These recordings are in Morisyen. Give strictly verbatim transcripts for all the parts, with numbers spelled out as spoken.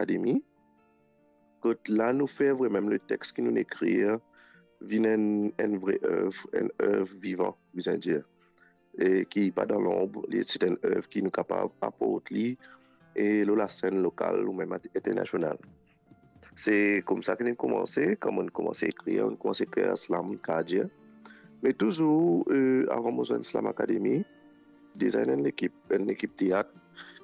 Academy, kot la nou fer vremem letex ki nou ekrir vinn enn, enn vre ev, enn ev vivan, bizin dir, e ki pa dan lonb, li, se enn ev ki nou kapav aport li e lor lasenn lokal oumem internasional. Se koumsa ki nou koumanse, kan nou koumanse ekrir, nou koumanse ekrir slam, kadir. Me touzour, eh, avan mo zwenn Slam Academy, deza ena enn lekip, enn lekip teat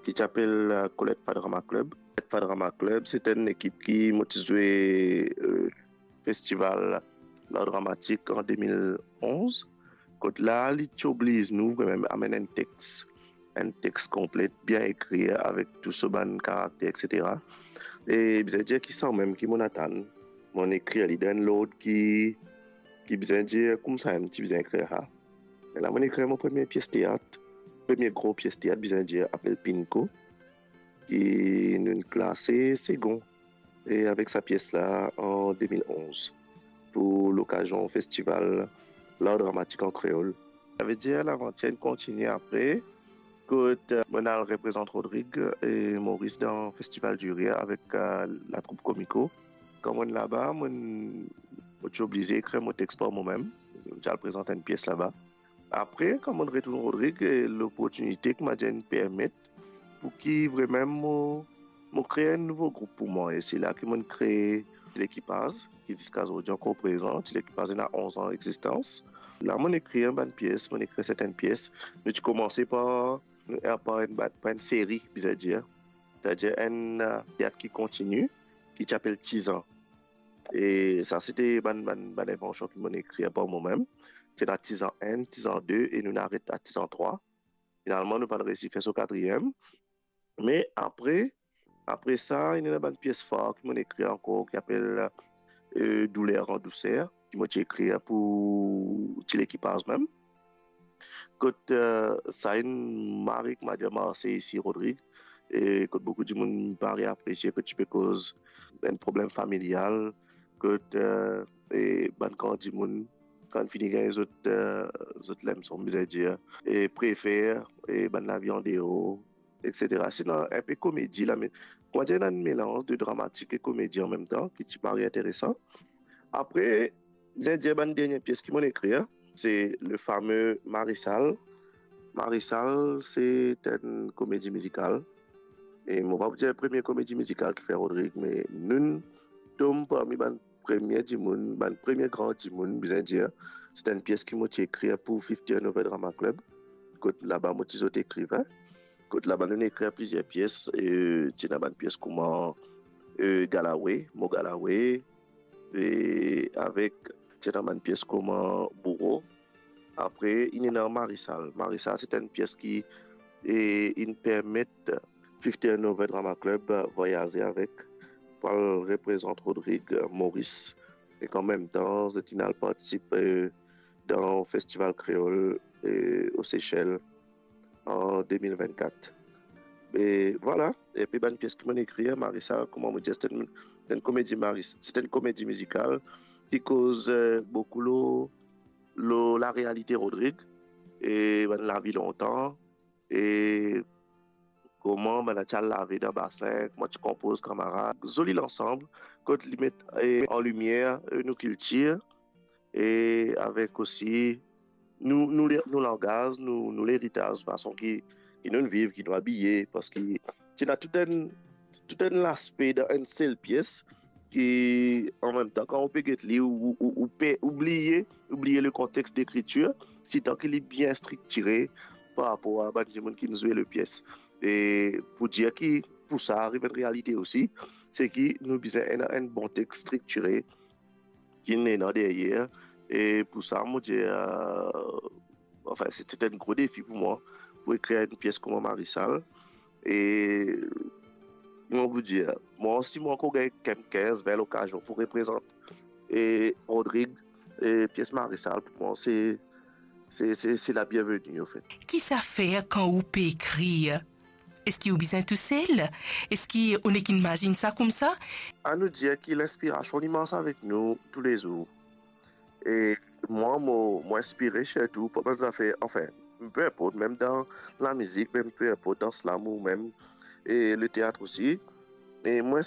ki ti apel, eh, Colette Fa Drama Club. Colette Fa Drama Club, se enn lekip ki mo ti zwe, eh, festival Lar Dramatik an de mil onz. Kot la, li ti obliz nou vremem amenn enn tex, enn tex konplet, bien ekrir, avek tou so bann karakter, et cetera. E bizin dir ki sanmem ki mo atann, mo ekrir li dan enn lord ki, ki bizin dir koumsa mem ti bizin ekrir sa. E la mo ekrir mo premie pies teat, premie gro pies teat, bizin dir, apel Pinko, ki nou klase segon. E avek sa pies la an de mil onz, pou lokazion festival Lar Dramatik an Kreol. Savedir lavantir inn kontigne apre, kot, eh, mo'nn al reprezant Rodrig e Moris dan Festival du Rire avek, eh, latroup Komiko. Kan mo'nn laba, mo'nn, mo ti oblize ekrir mo tex par momem. Mo ti al prezant enn pies laba. Apre, kan mo'nn retourn Rodrig, eh, loportinite ki Madier inn permet pou ki vremem mo, mo kre enn nouvo group pou mwa. E se la ki mo'nn kre Lekipaz, ki ziska zordi ankor prezan. Lekipaz ena onz an egzistans. La mo'nn ekrir bann pies, mo'nn ekrir sertenn pies. Nou ti koumanse par, eh, par enn, par enn seri, bizin dir. Setadir enn, eh, teat ki kontigne, ki ti apel Tizan. E sa, se te bann, bann, bann envansion ki mo'nn ekrir par momem. Ti ena Tizan enn, Tizan de, e nou'nn aret a Tizan trwa. Finalman, nou pa'nn reysi fer so katriem. Me apre, apre sa, ena bann pies far ki mo'nn ekrir ankor, ki apel, eh, Douler an douser, ki mo ti ekrir pou ti lekipaz mem. Kot, eh, sa inn mari ki Madier marse isi Rodrig, e kot boukou dimoun mari apresie, kot ti pe koz enn problem familial, kot, eh, e bann gran dimoun, kan fini gagn zot, eh, zot lemson, bizin dir, e prefer, e bann lavi andeor, et cetera. Se ena enpe komedi la, me, kouma dir, ena enn melanz de dramatik e komedi an mem tan, ki ti mari interesan. Apre, bizin dir bann dernie pies ki mo'nn ekrir, se le fame Marisal. Marisal, se enn komedi mizikal. E mo pa pou dir premie komedi mizikal ki fer Rodrig, me nou'nn tom parmi bann premie dimoun, bann premie gran dimoun, bizin dir. Se enn pies ki mo ti ekrir pou fifty Over Drama Club. Kot laba mo ti zot ekrivin. Kot laba nou'nn ekrir plizier pies, e ti ena bann pies kouma, eh, Galawe, Mo Galawe, e avek ti ena bann pies kouma Bouro. Apre, inn ena Marisal. Marisal, se enn pies ki, eh, inn permet fifty Over Drama Club, eh, vwayaze avek, pou al reprezant Rodrig, eh, Moris. E an mem tan, zot inn al partisipe, eh, dan festival kreol, eh, o Sesel an de mil vennkat. E vwala, epi bann pies ki mo'nn ekrir, Marisal, kouma mo dir, se enn, se enn komedi Maris-, se enn komedi mizikal ki koz, eh, boukou lor, lor larealite Rodrig, e bann lavi lontan, e kouma bann la ti al lave dan basin, kouma ti konpoz kanmarad. Zoli lansam, kot li met, eh, an limier, eh, nou kiltir, e avek osi nou, nou le-, nou langaz, nou, nou leritaz, fason ki, ki nou viv, ki nou abiye, parski ti ena tou enn, tou enn laspe dan enn sel pies, ki an mem tan, kan ou pe get li, ou, ou, ou pe oubliye, oubliye le kontex dekritir, sitan ki li bien striktire par rapor a bann dimoun ki zwe le pies. E pou dir ki pou sa ariv enn realite osi, se ki nou bizin ena enn bon tex striktire, ki ena deryer. E pou sa, mo dir, eh, anfin, se ti enn gro defi pou mwa, pou ekrir enn pies kouma Marisal. E mo pou dir, mwa, si mo ankor gagn kinz, vin lokazion pou reprezant, e, Rodrig, e, pies Marisal, pou mwa, se, se, se, se la bienveni, anfet. Ki sa fer kan ou pe ekrir? Eski ou bizin tousel? Eski ou nek inn mazinn sa koumsa? Anou dir ki linspirasion, li mars avek nou toulezour. E mwa, mo, mo inspire sirtou par bann zafer, anfin, pe inport, mem dan lamizik, mem pe inport dan slam ou mem, e leteat osi. E mo,